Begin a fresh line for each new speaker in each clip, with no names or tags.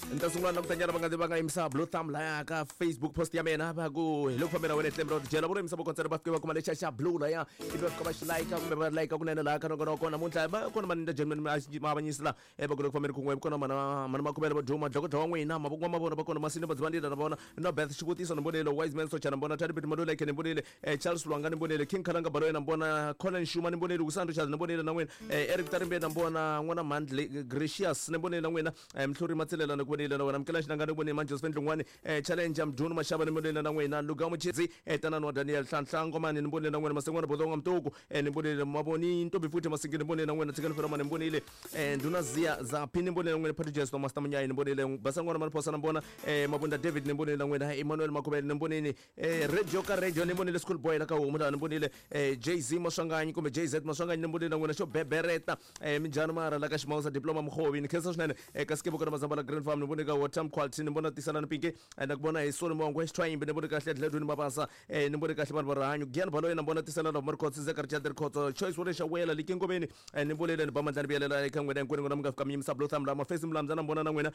Ni ta sungula na ku tanyana va nga va nga yimisa blue thumb laya ka Facebook post ya mina, va ku hi le ku fambela wena Tlemro Dyela vo yimisa vokontsena, va fike va kuma lexa xa blue laya, ivi va fika va xi like kumbe va like kunene laha ka nongonoko namuntlha. Va kona maninda gentleman maavanyisi la va ku le ku fambeni kun'we, kona mana mana makhumele va duma dlokodlo wa n'wina mavoko ma vona, va kona masini vadzivandila na vona no Beth xivutiso ni vonile, Wise Man Socha na vona, Tani Bit Maluleke ni vonile, Charles Lwanga ni vonile, King Khalanga Baloyi na vona, Colin Shuma ni vonile, Wisani Richard ni vonile na n'wina, Eric Tarimbe na vona, n'wana Mandli Gracious ni vonile na n'wina, Mhluri Matsilela ni ku vonile na wena, Mukela Xinanga ni vonile, Manjoseph Ndlungwani, Challenge Mdunu Mashava ni vonile na n'wina, Luga Muchidzi, Tanani wa Daniel Hlanhla Ngomani ni vonile na n'wina, Masengwana Bodonga Mtuku, ni vonile, Mavoni Ntombi futhi Masingi ni vonile na n'wina, Tshikani Ferama ni vonile, Ndhuna Ziya Zaphi ni vonile na n'wina, Patrick Jesto Master Munyayi ni vonile, Basangwana Maniphosa na vona, Mabunda David ni vonile na n'wina, Emmanuel Makhuvele ni vonile, Radio ka radio ni vonile, School Boy la ka homu laha ni vonile, JZ Maswanganyi kumbe JZ Maswanganyi ni vonile na n'wina, xo bebereta, minjhani mara la ka Ximawusa Diploma Mukhovi ni khensa swinene, ka Sikebo kona Mazambala Green Farm ni vone ka Water Quality ni vona Tisalani Pinki, na ku vona hi Soli Mongwe Xithwayimbi ni vone kahle Dledwini Mabasa, ni vone kahle vanhu va rihanyo Gian Baloyi na vona Tisalana Markhotsi Zeka Richard Rikhotso Choice Wole Xawela Likingomeni, ni vonile ni ba mandla ni vuyelela eka n'wina hinkwenu n'wina mi nga fika mi yimisa blue thumb la Mafesi Mulamza na vona na n'wina,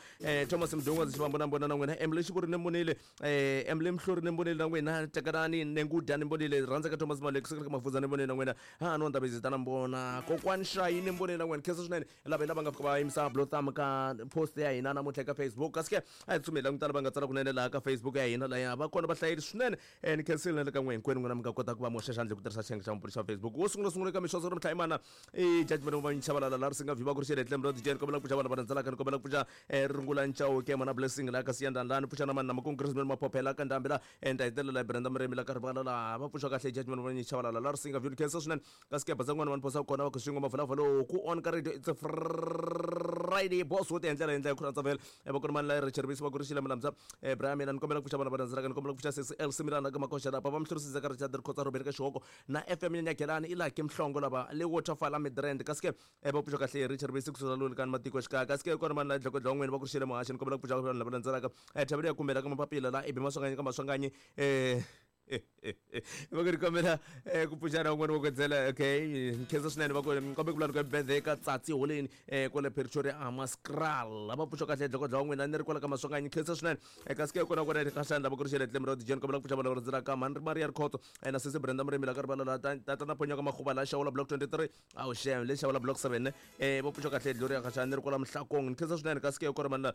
Thomas Mdungwa Xivambo na vona na n'wina, Emily Xivuri ni vonile, Emily Mhluri ni vonile na n'wina, Takalani Nenguda ni vonile, Rhandzeka Thomas Malek Sekele ka Mafuza ni vonile na n'wina, ha no Ndabezita na vona, Kokwani Shayi ni vonile na n'wina. Khensa swinene lava lava nga fika va yimisa blue thumb ka post ya hina namuntlha eka Facebook. Kasi ke a hi tsutsumeli langutana va nga tsala kunene laha ka Facebook ya hina, laya va kona vahlayeri swinene, ni khensile na le ka n'we hinkwenu n'wina mi nga kota ku va mi hoxa xandla hi ku tirhisa xiyenge xa mupfuni xa Facebook. Wo sungula sungula eka mixoso ri mhlayimana i judgment va Chabalala la ri singa vhiva ku ri xele Tlemro DJ, ni kombela ku pfuxa vanhu va rhandzelaka, ni kombela ku pfuxa, Rungula Nchauke mana Blessing la ka Siyandani la, ni pfuxa na mani na Makungu Christmas Maphophela ka Ndhambi la, ni ta hetelela hi Brenda Murimi la ka Rivala la, va pfuxa kahle judgment va Chabalala la ri singa view. Ni khensa swinene ka sikepa tsa n'wana va ni phosa kona va ku swin'we mavulavula ku on ka radio. It's a Friday boss wo ti endlela hi ndlela ya ku rhandza vhele, va ku ri mani la Richard Bisi va ku ri xile Milamza, Brian mina ni kombela ku pfuxa vanhu va rhandzelaka, ni kombela ku pfuxa sesi Elsie Milana ka Makoxa lapa va Mhlurisisa ka Richard Rikhotsa Robert ka Xihoko na FM Nyanyagelani i Lucky Mhlongo lava le Waterfall a Midrand. Kasi ke, va pfuxa kahle Richard Bisi kusuka luli ka matiko xikaya. Kasi ke kona mani la dlokodlo wa n'wini va ku ri xile Muhaxi, ni kombela ku pfuxa vanhu lava landzelaka, Thavelo ya kumbela ka mapapila la Ibi Maswanganyi ka Maswanganyi, va ku ri kombela, ku pfuxana un'wana wa kwetsela. Okay, ni khensa swinene, va ku kombe ku vula ka birthday ka Tsatsi Holeni, kwale Pretoria Amaskral, va pfuxa kahle dlokodlo wa n'wina ni ri kwala ka Maswanganyi, khensa swinene. Kasi ke kona kona ka xandla va ku ri xele Tlemro DJ, ni kombela ku pfuxa vanhu lava rhandzelaka mhani ri Maria Rikhotso, na sesi Brenda Murimi la ka rivala la tata na Phonyoka Makhuva la Xawula block 23 awu xem le Xawula block 7, va pfuxa kahle Gloria Khaxani ni ri kwala Mhlakong, ni khensa swinene. Kasi ke kona mani la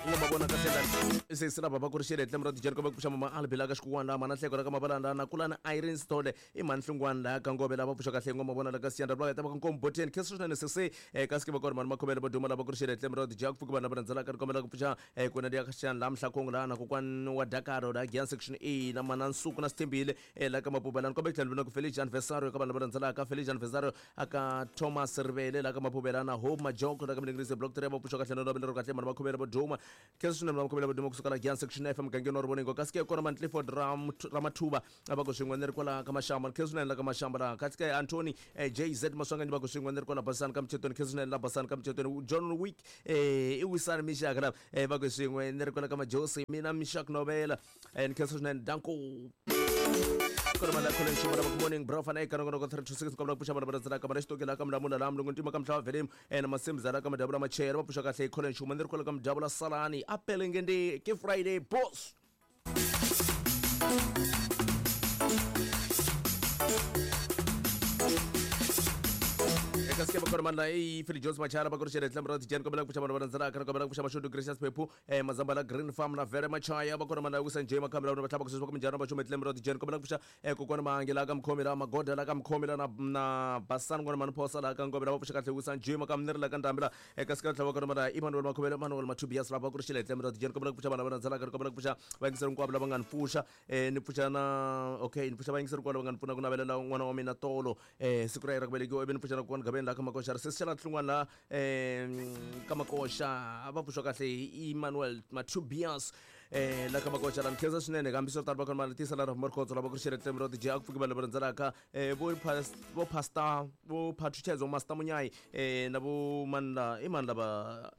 nga ma vona kahle la sesi lava va ku ri xele Tlemro DJ, ni kombela ku pfuxa mama Albi la ka Xikuwana la mana Hleko la ka Mabalanda na kulana Irene Sithole i mhani Hlungwana la ka Ngove lava pfuxa kahle ngoma vona la ka Siyanda va ta va ka Nkomboteni, khensa swinene sesi. Kasi ke va kona mani Makhomele va duma lava ku ri xele Tlemro DJ, ku pfuka vanhu lava rhandzelaka, ni kombela ku pfuxa, kuna liya Khaxani la Mhlakong la na kokwani wa Dakaro la Gian section A na mana Nsuku na Sithembile, la ka Mapubela, ni kombela ku tlhela ni vona ku Felice Anniversario ka vanhu lava rhandzelaka, Felice Anniversario aka Thomas Rivele la ka Mapubela na Hope Majoko la ka Milingirisi block 3, va pfuxa kahle na lero kahle mani Makhomele va duma, khensa swinene Makhomele va duma kusuka la Gian section F mugangeni wa Rivoningo. Kasi ke kona mani Clifford Ramathuba va ku swin'we ni ri kwala ka Mashamba, ni khensa swinene la ka Mashamba laha. Kasi ke Anthony, JZ Maswanganyi va ku swin'we ni ri kwala Basani ka Michetweni, khensa swinene la Basani ka Michetweni. John Wick, i Wisani Mishaka la, va ku swin'we ni ri kwala ka Majosi mina Mishak Novela, ni khensa swinene danko. Kona mali khole nxuma lava good morning bro fana eka nongonoko 326, kombela ku pfuxa vanhu va landzelaka mana Xitoki la ka Mulamula la Mulungu Ntima ka Mhlava Velimu, na Masimza la ka Madabula Machela, va pfuxa kahle khole nxuma ni ri kwala ka Mudabula Salani a Pelengende ke Friday boss. Eka sikeba kona mani la i Philip Jones Machara va ku ri xele Tlemro DJ, ni kombela ku pfuxa vanhu va landzelaka, ni kombela ku pfuxa Mashudu Gracious Phephu, Mazambala Green Farm na Vere Machaya, va kona mani la Wisa Nje Makhambela va tlhava ku sweswi va ku minjhani va xume Tlemro DJ, ni kombela ku pfuxa, kokwana Mahangi la ka Mukhomi la Magoda la ka Mukhomi la na Basani n'wana mani Phosa la ka Ngove la va pfuxa kahle Wisa Nje Makhambela ni ri la ka Ndhambi la. Eka siku tlhava kona mara Emmanuel Makhomele Emmanuel Mathubias lava ku ri xile Tlemro DJ, ni kombela ku pfuxa vanhu lava landzelaka, ni kombela ku pfuxa vayingiseri hinkwavo lava nga ni pfuxa, ni pfuxa na okay, ni pfuxa vayingiseri hinkwavo lava nga ni pfuna ku navelela n'wana wa mina tolo, siku ra yena ra ku velekiwa, ivi ni pfuxa na kokwana Gaveni laha ka Makoxa ri sesi xana Hlungwana la, ka Makoxa, va pfuxa kahle hi Emmanuel Mathubias, la ka Makoxa la, ni khensa swinene. Hambiswiritano va kona mali tisa la Rafumar Khotso lava ku ri xile Tlemro DJ, a ku pfuki vanhu lava landzelaka, vo pastor vo Phathutshedzo Master Munyayi, na vo mani la i mani lava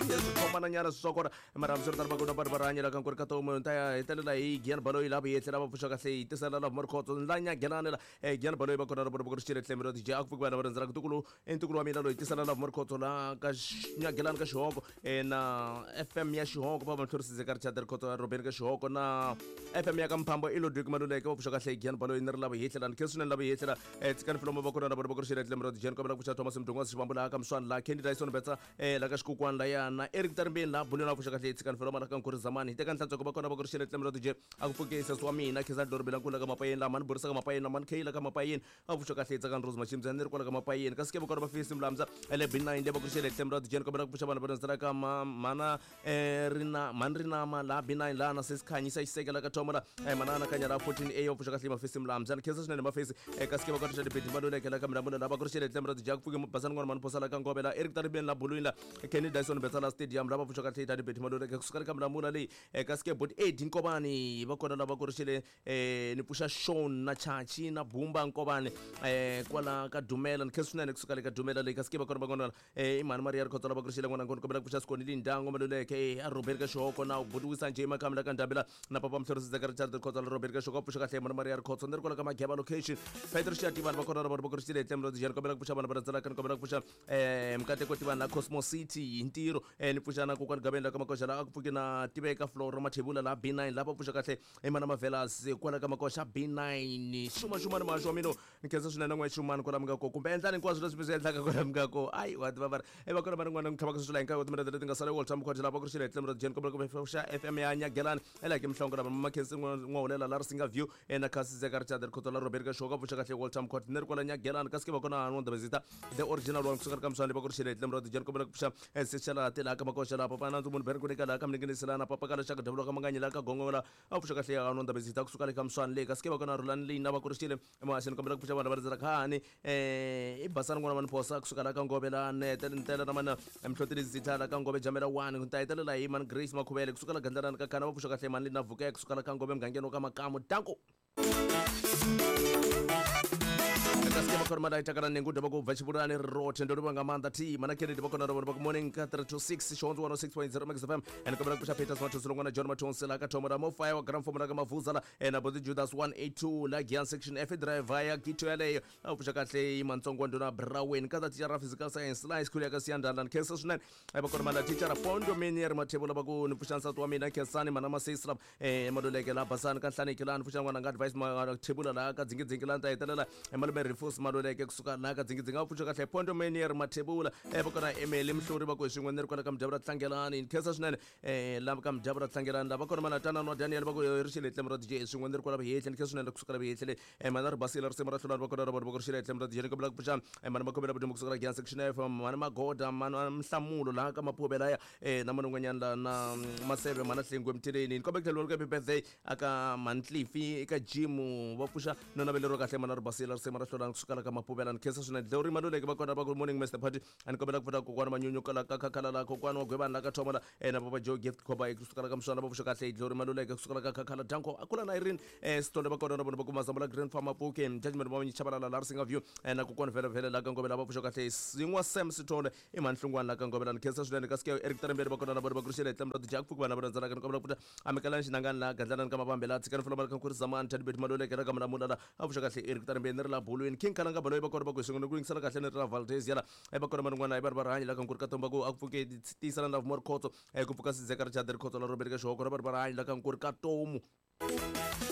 Swi khomana nyana swi swa kona. Mara hambiswiritano va kona va rihanya la ka nkuri ka tomu ta ya hetelela hi Gian Baloyi la vuyetlhela va pfuxa kahle hi tisela la Morkhotso la nyagelani la Gian Baloyi va kona va ku ri xile tlhelo DJ a ku pfuki vana va rindzela ntukulu ntukulu wa mina loyi tisela la Morkhotso la ka nyagelani ka xihoko na FM ya xihoko va va mhlorisise ka Richard Rikhotso ya Robert ka xihoko na FM ya ka Mphambo i Ludwig Maluleke va pfuxa kahle Gian Baloyi ni ri la vuyetlhela ni khensa swinene la vuyetlhela tsikani filomo va kona va ku ri xile tlhelo DJ kombela ku pfuxa Thomas Mdungwa Xivambu la ka Mswani la Candy Dyson Betsa la ka Xikukwani la ya na Eric Tarimbeni la Buleni va pfuxa kahle tsikani filomo la ka Nkuri Zamani hi teka nhlantsweko va kona va ku ri xile tlhelo DJ a ku pfuke sesi wa mina Khensani Dorobela nkulu la ka Mapayeni la mani burisa ka Mapayeni na mani Kay la ka Mapayeni a pfuxa kahle tsakani Rose Machimza ni ri kwala ka Mapayeni kasi ke va kona va fisi Mlamza le B9 le va ku ri xile tlhelo DJ kombela ku pfuxa vanhu va rindzela ka mana rina mani rinama la B9 la na sesi Khanyisa Xiseke la ka Thoma la manana kanya la 14A va pfuxa kahle mafisi Mlamza ni khensa swinene mafisi kasi ke va kona xa dibedi Maluleke la ka Milamula la va ku ri xile tlhelo DJ ku pfuke Basani n'wana mani Phosa la ka Ngove la Eric Taribeni la Bulwini la Kenny Dyson Betsa la Stadium la va pfuxa kahle ta dibedi Maluleke kusuka ka Milamula leyi kasi ke bot 8 Nkovani va kona lava ku ri xile ni pfuxa Sean na Chachi na Bumba Nkovani kwala ka Dumela ni khensa swinene kusuka le ka Dumela leyi kasi ke va kona va kona i mhani Maria Rikhotso lava ku ri xile n'wana ngoni kombela ku pfuxa Sikoni Lindango Maluleke a Robert ka Xihoko na Budiwisa Nje Makhami la ka Ndambela na Papa Mhlorisise ka Richard Rikhotso la Robert ka Xihoko pfuxa kahle mhani Maria Rikhotso ni ri kwala ka Mageba location Petro Xiativani va kona lava va ku ri xile tlhelo DJ kombela ku pfuxa vanhu va rhandzela ka ni kombela ku pfuxa Mkateko Tivani la Cosmo City hi ntirho ni pfuxa na kokwani Gabeni la ka Makoxa la a ku pfuki na Tiveka Floro Mathebula la B9 la va pfuxa kahle i mana Mavelas kwala ka Makoxa B9 xuma xuma ni maxo wa mina ni khensa swinene n'we xumani kwala mi nga ko kumbe endlani hinkwaswo leswi mi swi endlaka kwala mi nga ko ayi wa tiva va ri va kona va ri n'wana n'wi tlhavaka sweswi la hinkwayo timinete leti nga sala World Time Khwati la va ku ri xile tlhelo ra Jen kombela ku pfuxa FM ya Nyagelani ela ke mhlongo lava Makhensi n'wahulela la Risinga View na Khasi Zeka Richard Rikhotso la Robert ka Xoka pfuxa kahle World Time Khwati ni ri kwala Nyagelani kasi ke va kona Hanwa Ndabezita the original one kusuka ka Mswani va ku ri xile tlhelo ra Jen kombela ku pfuxa Sexela tela ka Makoxa la Papa Nandzu munhu Beri ku la ka Mninginisela na Papa Kala Xaka Davula ka Manganyi la ka Gongola a pfuxa kahle Hanwa Ndabezita kusuka le ka Mswani le kasi ke va kona Rhulani leyi na va ku ri xile emaxeni kombela ku pfuxa vanhu va rindzela khani i Basani n'wana va ni phosa kusuka la ka Ngove la Nete Ntela na mana Mhloteli Zitha la ka Ngove Jamela 1 ku ta hetelela hi mani Grace Makhuvele kusuka la Gandlalani ka Khana va pfuxa kahle mani Lina Vuke kusuka la ka Ngove mugangeni wa ka Makamu danko kasi ke va kona mada itakala nengu dovha ku bva Tshivhulani rothe ndo livha nga maanḓa thi mana Kennedy va kona ro vha morning ka 3 to 6 Xihondzo 106.0 Max FM and kombela ku pfuxa Peters Mathonsi longwana John Mathonsi la ka Thomo la Mofaya wa Grand Formula ka Mavuza la na Boti Judas 182 la Gian section F driver ya Gito yaleyo a pfuxa kahle Mantsongo nduna Brawen ka ta teacher physical science la school ya ka Siyandala ni khensa swinene va kona mala teacher Pondo Menier Mathebula va ku ni pfuxa nsati wa mina Khensani mana Masesi la Maluleke la Basani ka Nhlaniki la ni pfuxa n'wana nga advice Mathebula la ka Dzingidzingi la ni ta hetelela Malume Rifus Maluleke kusuka la ka Dzingidzingi a pfuxa kahle Pondo Menier Mathebula va kona Emily Mhluri va ku hi swin'we ni ri kwala ka Mudyavula Tlangelani ni khensa swinene la ka Mudyavula Tlangelani lava kona mana Tanani wa Daniel va ku ri xile tlhelo ra DJ swin'we ni ri kwala Vuhehle ni khensa swinene kusuka la Vuhehle mana ri basile risimu ra hlulani va kona ra vona va ku ri xile tlhelo ra DJ ni kombela ku pfuxa mana Makhomela Vudyombo kusuka la Gian section F mana Magoda mana Mhlamulo la ka Mapuve laya na mana un'wanyana la na Maseve mana Hlengwe Mtheleni ni kombela ku tlhela happy birthday aka Mantlifi eka Jimu va pfuxa no naveleriwa kahle mana ri basile risimu ra hlulani kusuka la ka Mapuvela ni khensa swinene Dlewuri Maluleke va kona va ku morning Mr Party ani kombela ku pfuxa kokwana Manyunyu kala ka Khakhala la kokwana wa Gwebani la ka Thoma la na Papa Joe Gift Khoba kusuka la ka Mswana va pfuxa kahle Dlewuri Maluleke kusuka la ka Khakhala Danko akula na Irene Sithole va kona na vona va ku Mazambula Green Farm Apuke Judgment va Chabalala la Risinga View na kokwana vhele vhele la ka Ngobela va pfuxa kahle Sin'wa Sam Sithole i mhani Hlungwani la ka Ngobela ni khensa swinene kasi ke Eric Tarembeni va kona na vona va ku ri xile tlhelo ra Jack Pfuki vana va rhandzana ka ni kombela ku pfuxa Amukelani Xinangani la Gandlalani ka Mavambe la Tshikani Fulomani ka Nkhuri Zamani Tadibeti Maluleke la ka Mulamula la a pfuxa kahle Eric Tarembeni ni ri la Bulwini King Kalanga Baloyi va kona va ku hi swin'we ni ku yingisela kahle ni ri la Valdez yala va kona man'wana hi va ri va rihanyo la ka Nkhuri ka Tomba ku a ku pfuke tiyisela na Lovemore Khotso ku pfuka Sizeka Richard Rikhotso la Robert ka Xihoko ra va ri va rihanyo la ka Nkhuri ka Tomu.